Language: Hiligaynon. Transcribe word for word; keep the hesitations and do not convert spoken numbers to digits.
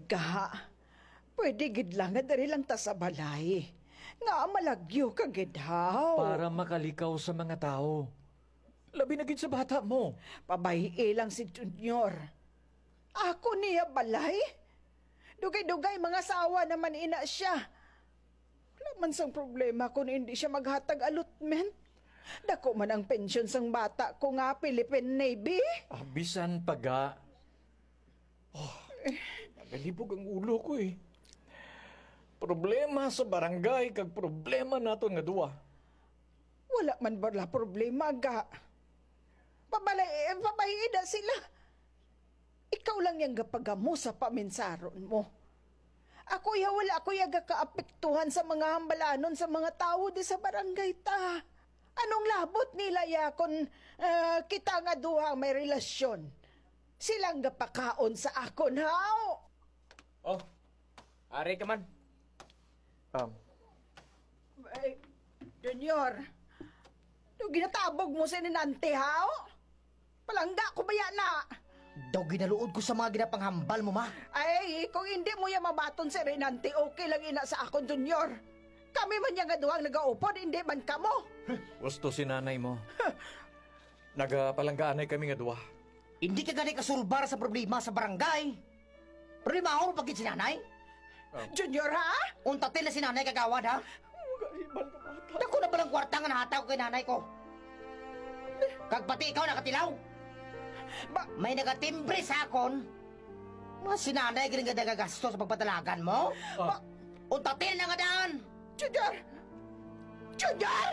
Ga, pwede gid lang nga diri lang ta sa balay. Nga malagyo ka gid, haw. Para makalikaw sa mga tawo. Labi na gid sa bata mo. Pabay-i lang si Junior. Ako niya balay? Dugay-dugay, mangasawa naman ina siya. Wala man sang problema kung hindi siya maghatag allotment. Dako man ang pensyon sang bata ko nga Philippine Navy. Ah, bisan pa ga. Oh, nagalibog ang ulo ko eh. Problema sa barangay kag problema naton nga duwa. Wala man bala problema, ga. Pabalay, eh, pabay-i na sila. Ikaw lang yang gapagamo sa paminsaron mo. Ako ya, wala ako ya gakaapektuhan sa mga hambalanon sa mga tawo di sa barangay ta. Anong labot nila ya kung, ah, kita nga duha may relasyon? Silang gapakaon sa akon, haw? Oh, ari ka man. Um, Ay, Junior, do ginatabog mo si Ninante, haw? Palangga ko baya na? Daw ginaluod ko sa mga ginapanghambal mo, ma. Ay, kung hindi mo ya mabaton si Renante, okay lang ina sa akon, Junior. Kami man ya nga duhang nagaupod, hindi man kamo. Gusto si nanay mo. Nagapalanggaanay kami nga duwa. Hindi ka gani kasulbar sa problema sa barangay. Problema mo pagkit si nanay? Ah. Junior, ha? Untatin na si nanay kagawad, ha? Magahibal ka, bata. Dako na palang kwarta nga nahatag ko kay nanay ko. Kag pati ikaw nakatilaw. Ba- May nagatimbre sa akon. Mga si nanay galing nga nagagasto sa pagpatalagan mo? Ah. Ba- Untatin na nga daan. Junior! Junior!